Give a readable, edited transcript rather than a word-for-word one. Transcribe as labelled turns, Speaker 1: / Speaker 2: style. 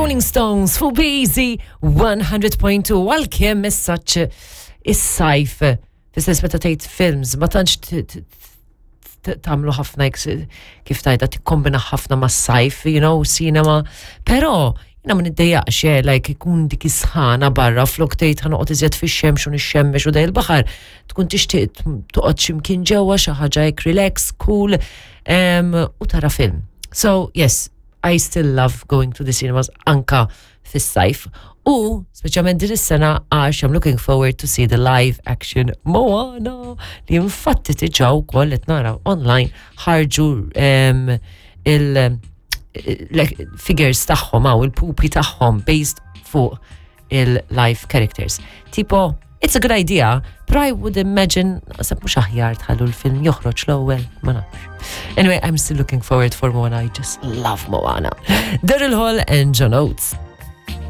Speaker 1: Rolling Stones fuq Busy 100.2 għalkemm messaġġ is-sajf fis-sens meta tgħid films ma tantx tagħmlu ħafna kif tajda tikkombina ħafna mas-sajf, you know, cinema, però jina ma niddejjaqx, eh, like ikun dik is-sħana barra flok tgħid ħa noqgħod iżjed fix-xemx u nixxemmex u dej il-baħar, tkun tixtieq toqgħod x'imkien ġewwa xi ħaġa hekk relax, cool, u tara film. So, yes, I still love going to the cinemas anka fis-sajf. U, speċjalment din is-sena għax I'm looking forward to see the live action Moana li infatti diġà wkoll qed nara online ħarġu il- figures tagħhom hawn il-pupi tagħhom based fuq il-live characters. Tipo, it's a good idea, but I would imagine, sab mux aħjar tħallu l-film joħroġ l-ewwel, ma nafx. Anyway, I'm still looking forward for Moana. I just love Moana. Daryl Hall and John Oates.